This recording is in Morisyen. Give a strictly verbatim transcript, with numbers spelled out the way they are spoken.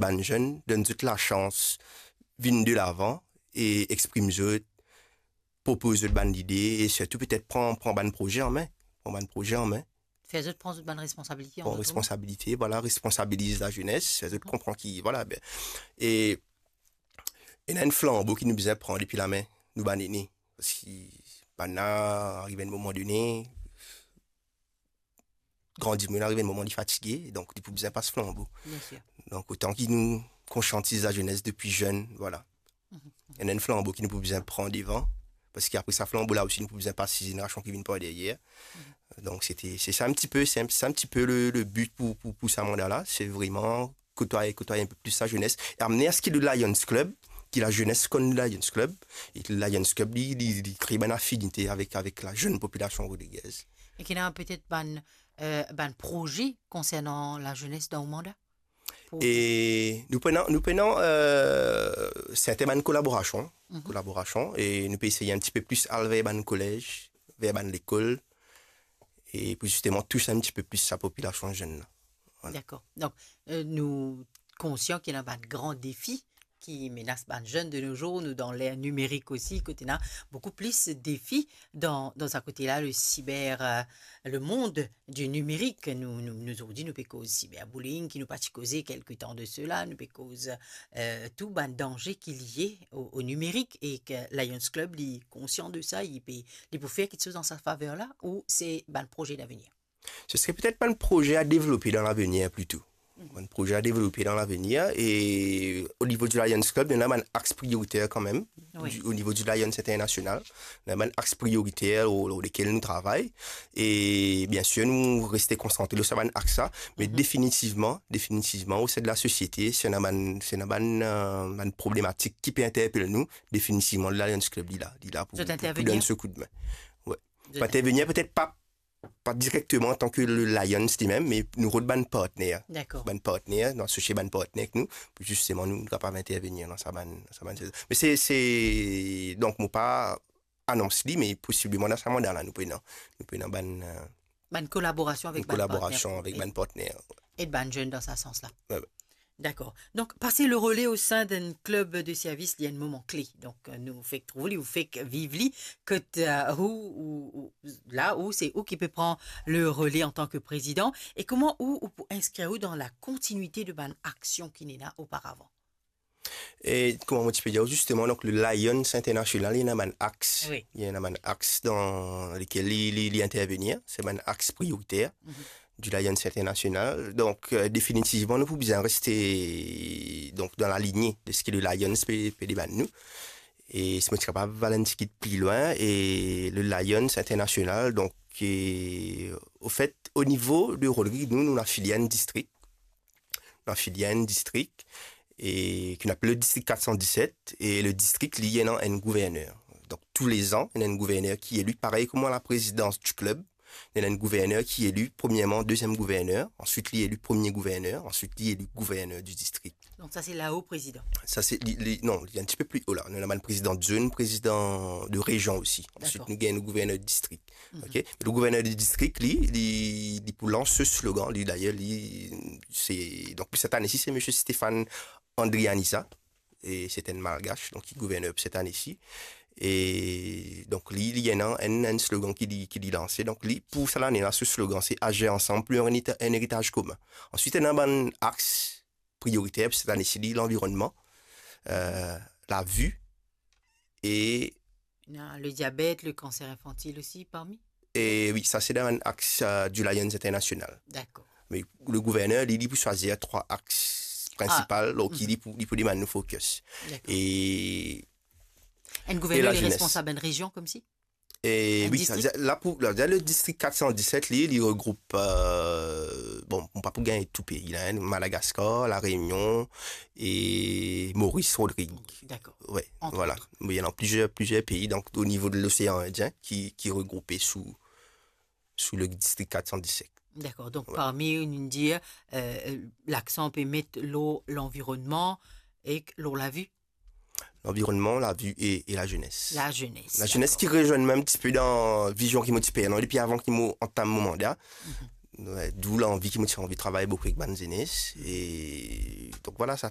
bann zenn, donn zot lasans vinn de lavan e exprim zot, propoz zot bann lide e sirtou petet pran, pran bann proze an me, pran bann proze an me. Fer zot pran zot bann responsabilite an zot mo. Pran responsabilite, vwala, responsabiliz lazenes, fer zot konpran ki, vwala, be, e ena enn flanbo ki nou bizin pran depi lame nou bann ene. Parski bann la, ariv enn moman done, gran dimoun ariv enn moman li fatige, donk li pou bizin pas flanbo. Bien sir. Donk otan ki nou konsiantiz lazenes depi zenn, vwala. Mhm. Ena enn flanbo ki nou pou bizin pran devan, parski apre sa flanbo la osi nou pou bizin pas si zenerasion ki vinn par deryer. Mhm. Donk se te, se sa enn ti pe, se enn, se enn ti pe le, le bi pou, pou, pou sa manda la, se vreman kotwaye, kotwaye enn pe plis lazenes, e amne aski le Lions Club, ki lazenes konn Lions Club, e Lions Club li, li, li kree bann afinite avek, avek lazenn popilasion rodrigez. E ki ena petet bann, euh, bann proze konsernan lazenes dan ou manda? Pou E nou pena, nou pena, euh, serten bann kolaborasion, Mhm. kolaborasion, e nou pe eseye enn ti pe plis al ver bann kolez, ver bann lekol, e pou zisteman tous enn ti pe plis sa popilasion zenn la. Vwala. Dakor. Donk, euh, nou konsian ki ena bann gran defi ki menas bann zenn de nos jours, nou dan ler nimerik osi, kot ena boukou plis defi dan, dan sa kote la, le cyber, euh, le monde du numérique. Nou, nou, nou zordi, nou pe koz cyberbullying, ki nou pa ti koze kelke tan de sela, nou pe koz, euh, tou bann danze ki lie o, o nimerik, e ki Lions Club, li konsian de sa, li pe, li pou fer kiksoz an sa faver la, ou se bann proze davenir? Ce serait peut-être pas un projet à développer dans l'avenir plutôt. Mhm. Un projet à développer dans l'avenir. Et au niveau du Lions Club, il y en a un axe prioritaire quand même, Wi. du- au niveau du Lions International. Il y en a un axe prioritaire au, au- lequel nous travaillons. Et bien sûr, nous restons concentrés sur un axe, ça. Mais Mhm. définitivement, définitivement, au sein de la société, c'est une, c'est une, euh, une problématique qui peut interpeller nous. Définitivement, le Lions Club, il est là, il est là pour, Vous pour, pour intervenir? donner ce coup de main. Ouais. Vous Pas êtes intervenir, peut-être pas pa direkteman antan ke le Lions limem, me nou rod bann partner. Dakor. Bann partner, nou asosie bann partner ek nou, pou zisteman nou, nou kapav intervenir dan sa bann, dan sa bann sezon. Me se, se, donk, mo pa anons li, me posibleman dan sa manda la, nou pou ena, nou pou ena bann, euh, Bann kolaborasion avek bann partner. Kolaborasion avek bann partner. E bann zenn dan sa sans la. Wi, wi. Dakor. Donk, pase le role o sin d'enn klub de servis, li enn moman kle. Donk, euh, nou fek trouv li, ou fek viv li, kot, euh, ou, ou, ou, la ou, se ou ki pe pran le role antan ke prezidan. E kouma ou, ou pou inskrir ou dan la kontinuite de bann aksion ki ena oparavan? E kouma mo ti pe dir, zisteman, donk, le Lions International, li ena bann axe. Wi. Li ena bann axe dan lekel li, li, li intervenir. Se bann axe prioriter. Mhm. du Lions International. Donk, euh, definitivman, nou pou bizin reste, donk, dan laligne de seki le Lions pe, pe demann nou. E si mo ti kapav al enn tigit pli lwin, e le Lions International, donk, e, ofet, o nivo de Rodrig, nou, nou afilie a enn distrik. Nou afilie a enn distrik, e ki nou apel le distrik kat san diset, e le distrik, li, li ena enn gouverner. Donk, toulezan, ena enn gouverner ki eli, parey kouma la prezidans di klub, ena enn gouverner ki eli, premierman, deziem gouverner, answit li eli premie gouverner, answit li eli gouverner di distrik. Donk sa se lao prezidan? Sa se, li, li, non, li enn tipe pli o la. Nou ena bann prezidan de zone, prezidan de rezion osi. Answit, Dakor. nou gagn nou gouverner de distrik. Mhm. Ok? Me le gouverner de distrik, li, li, li pou lans se slogan, li, dayer, li, se, donk, pou set ane si, se misie Stéphane Andrianisa. E se enn Malgash, donk, ki gouverner pou set ane si. E donk, li, li ena enn, enn slogan ki li, ki li lanse. Donk, li, pou sa lane la, se slogan, se Agir ensemble pour un hérita-, un héritage commun. Answit, ena bann axe prioriter pou set ane si, li, lanvironnman, euh, la vue e Non, le diabet, le cancer infantile osi, parmi? E wi, sa se dan bann axe, euh, du Lions International. Dakor. Me le gouverner, li, li pou swazir trwa axe prinsipal, Ah, lor ki mhm. li pou, li pou demann nou focus. Dakor. E Enn gouverner, la li jenes. Responsab enn rezion, koumsi? E Enn wi, distrik? Sa, la pou, la, le distrik kat san diset, li, li regroup, euh, bon, mo pa pou gagn tou pei la, hein, Madagascar, La Réunion e Maurice, Rodrig. Dakor. Ouais, Entre voilà. autres. Mais il y en a plusieurs, plusieurs pays, donc au niveau de l'océan Indien, qui, qui est regroupé sous, sous le district quatre cent dix-sept. Dakor. Donk, Ouais. parmi, nou dir, euh, laksan pe met lor lanvironnman ek lor lavi. Lanvironnman, lavi e, e lazenes. Lazenes, dakor. Ki rezwenn mwa enn tipe dan vizion ki mo ti pe ena depi avan ki mo antam mo manda. Mhm. Ouais, d'où l'envie ki mo ti anvi travay boukou ek bann zenes. E donk, voilà, sa